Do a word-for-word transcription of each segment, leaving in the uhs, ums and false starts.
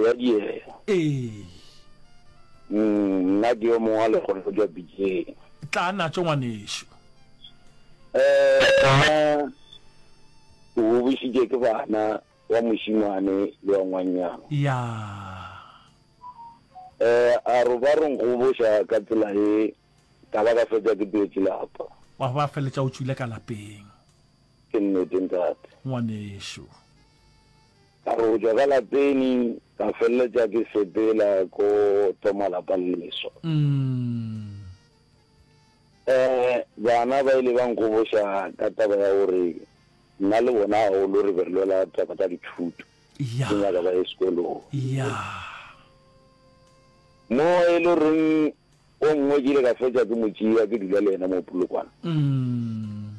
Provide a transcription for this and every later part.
Re a diega. Ee. Mm, nna ke yo mongwe wa lekgolo go tšwa Pitšeng. Tla natšo ngwanešu. Eh, nna ke gobošitše ke bana wa mošemane le wa ngwannyana. Ya. Eh, a re ba re nkgoboša ka tsela ye, ka ba ka fetša ke tlogetše lapa. Wa ba feletša o tšwile ka lapeng. Ke nnete ntate. Ngwanešu. Ka re go tšwa ka lapeng ka feleletša ke sepela ko thoma lapa le leswa. Mm. Eh, bana ba ile ba nkgoboša ka taba ya gore nna le bona gagolo re be re lwela taba tša dithuto. Ya. Ke nyaka ba ye sekolong. Ya. Mo e le goreng o mongwe ke ile ka fetša ke mo tšea ke dula le yena mo Polokwane. Mm.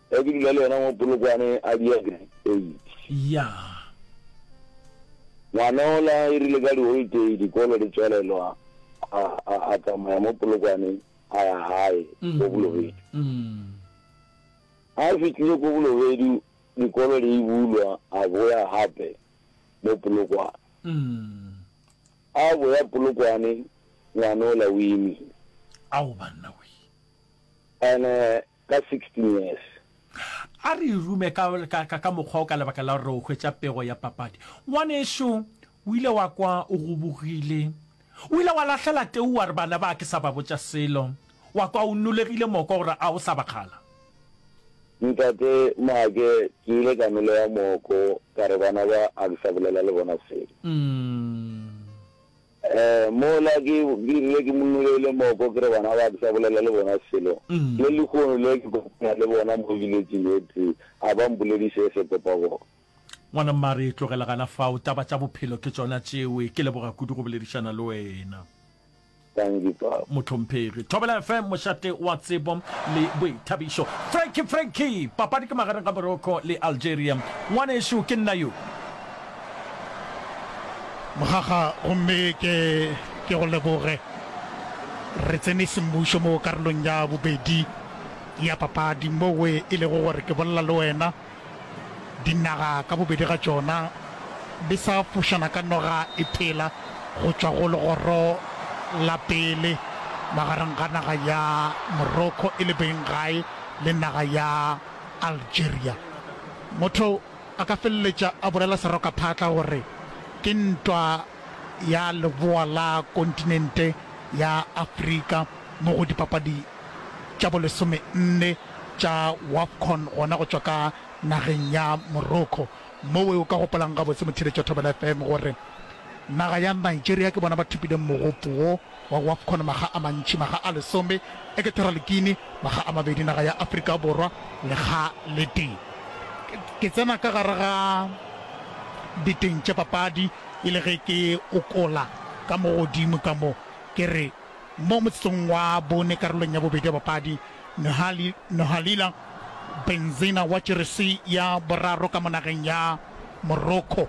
Ge ke dula le yena mo Polokwane a dia grade eight. Ya. Ngwana ola e rile ka di-holiday dikolo di tswalelwa a, a, a tsamaya mo Polokwane a ya gae ko Bolobedu. Mm. A fihlile ko Bolobedu dikolo di bulwa a boya gape mo Polokwane. Mm. A boya Polokwane ngwana ola o imile. Ao banna we. Ene ka sixteen years. A re e rume ka, ka, ka, ka mokgwa o ka lebaka la gore re o hwetša pego ya papadi. Ngwanešu, o ile wa kwa o gobogile. O ile wa lahlela teu wa re bana ba ke sa ba botša selo. Wa kwa o nolegile moko gore a o sa ba kgala. Ntate Maake, ke ile ka nolega moko ka re bana ba a ke sa bolela le bona selo. Mm. Eh, mola ke, ke rile ke mo nolegile moko ke re bana ba ke sa bolela le bona selo. Mm. Le lehono le ke kopana le bona mo village ye tee, a ba mpolediše se kopa bona. Ngwana mma re e tlogela gana fao, taba tša bophelo ke tšona tšewe. Ke leboga kudu go boledišana le wena. Thank you, Papa. Mohlomphegi. Thobela F M, mošate wa tsebo le boithabišo. Frankie, Frankie! Papadi ke magareng ga Morocco le Algeria. Ngwanešu, ke nna yo. Mogaga, gomme ke, ke go leboge. Re tsene semmušo mo karolong ya bobedi ya papadi, mowe e lego gore ke bolela le wena. Dinaga ka bobedi ga tšona di sa fošana ka noga e phela go tšwa go legoro la pele magareng ga naga ya Morocco e le beng gae le naga ya Algeria. Motho a ka feleletša a bolela serokaphatla gore ke ntwa ya leboa la kontinente ya Afrika mo go dipapadi tša bolesome nne tša WAFCON gona go tšwa ka nageng ya Morocco. Mowe o ka gopolang gabotse motheeletši wa Thobela F M gore naga ya Nigeria ke bona ba thopileng mogopo wo wa WAFCON makga a mantši, makga a lesome, Equatorial Guinea makga a mabedi, naga ya Afrika Borwa lekga le tee. Ke tsena ka gare ga diteng tša papadi e le ge ke okola ka mo godimo ka mo ke re mo motsotsong wa bone karolong ya bobedi ya papadi, Nohali, Nohalila Benzina wa jeresi ya boraro ka mo nageng ya Morocco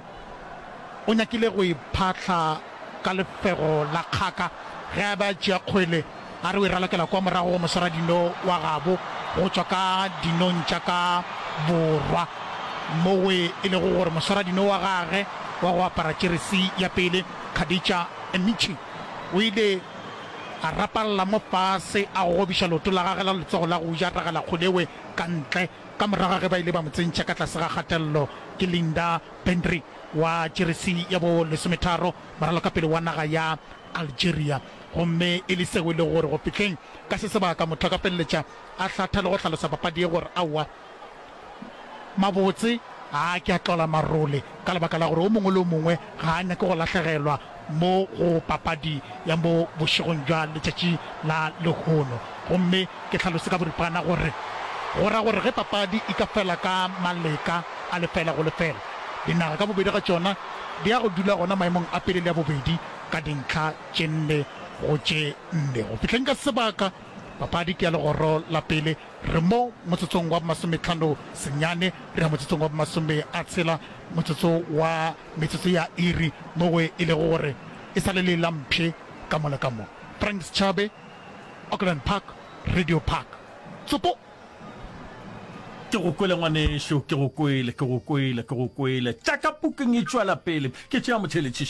o nyakile go iphahla ka lefego la kgaka ge a be a tšea kgwele a re o e ralokela kwa morago go moswaradino wa gabo go tšwa ka dinong tša ka borwa mowe e lego gore moswaradino wa gage wa go apara jeresi ya pele Khadija Emichi o ile a rapalla mo fase a gogobiša leoto la gagwe la letsogo la go ja ragela kgolewe ka ntle ka morago ga ge ba ile ba mo tsentšha ka tlase ga kgatelelo ke Linda Bendri wa jeresi ya bo lesometharo moralokapele wa naga ya Algeria. Gomme e le seo e lego gore go fihleng ka se sebaka motho a ka feleletša a hlatha le go hlalosa papadi ye gore aowa mabotse ga a ke a tlola marole ka lebaka la gore o mongwe le o mongwe ga a nyake go lahlegelwa mo go papadi ya mo bošegong bja letšatši la lehono. Gomme ke hlalose ka boripana gore go ra gore ge papadi e ka fela ka maleka a lefela go lefela, dinaga ka bobedi ga tšona di ya go dula gona maemong a pele le a bobedi ka dintlha tše nne go tše nne. Go fihleng ka sebaka, papadi ke ya legoro la pele. Re mo motsotsong wa bomasometlhano senyane, re ya motsotsong wa bomasome a tshela, motsotso wa metsotso ya iri, mo e lego gore e sa le le la mpšhe ka mo le ka mo. Frank Schabe, Auckland Park, Radio Park. Tsopo! Ke go kwele ngwanešu, ke go kwele, ke go kwele, ke go kwele. Tša ka pukung e tšwela pele. Ke tšea motheeletši.